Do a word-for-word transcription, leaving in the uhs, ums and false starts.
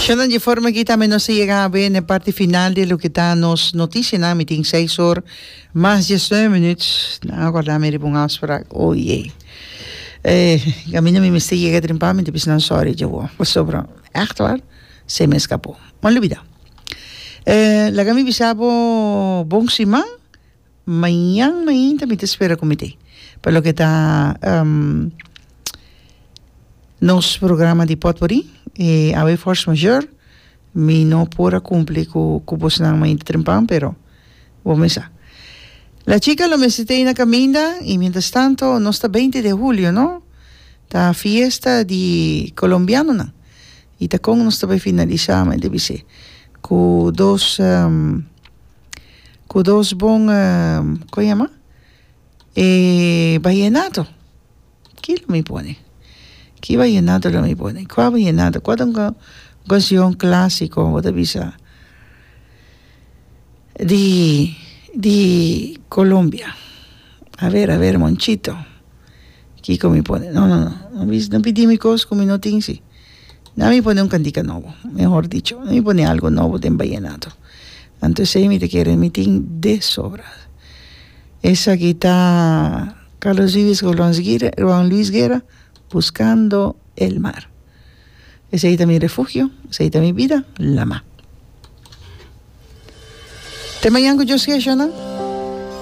Shonan, di forma aki tambe nos a yega awe na e parti final di loke ta nos noticianan. Mi tin seis or mas diesnuebe minuut. Nan a acorda mi riba un afspraak. Oh jee. Eh, caminda mi mester yega trimpa mi ta bisa nan sorry djawo. Pasobra, echt waar, se me escapó. M'an lubida. Eh, laga mi bisa bo bon siman. Mañan mainta mi ta spera cu mi t'ey. Pa loke ta nos programa di potpourri e awe force majeure mi no por a cumpli cu cu bosnan mainta trempan pero bo mes sa. La chica lo mester t'ey na caminda y mientras tanto nos ta beinti de julio no ta fiesta di colombianonan y ta con nos ta bay finalisa mi ta bis'e cu dos cu dos bon con yama e vallenato ki lo mi pone ki vallenato lo mi pone cua vallenato cua ta un cancion clasico bo ta bisa di di Colombia a ver a ver Monchito kico mi pone no no no no pidi mi cos cu mi no tin si na mi pone un cantica nobo mehor dicho na mi pone algo nobo den vallenato anto esey mi ta kere mi tin de sobra esaki ta Carlos Vives cu Juan Luis Guerra buscando el mar esey ta mi refugio esey ta mi bida lama te mañan cu Dios kier.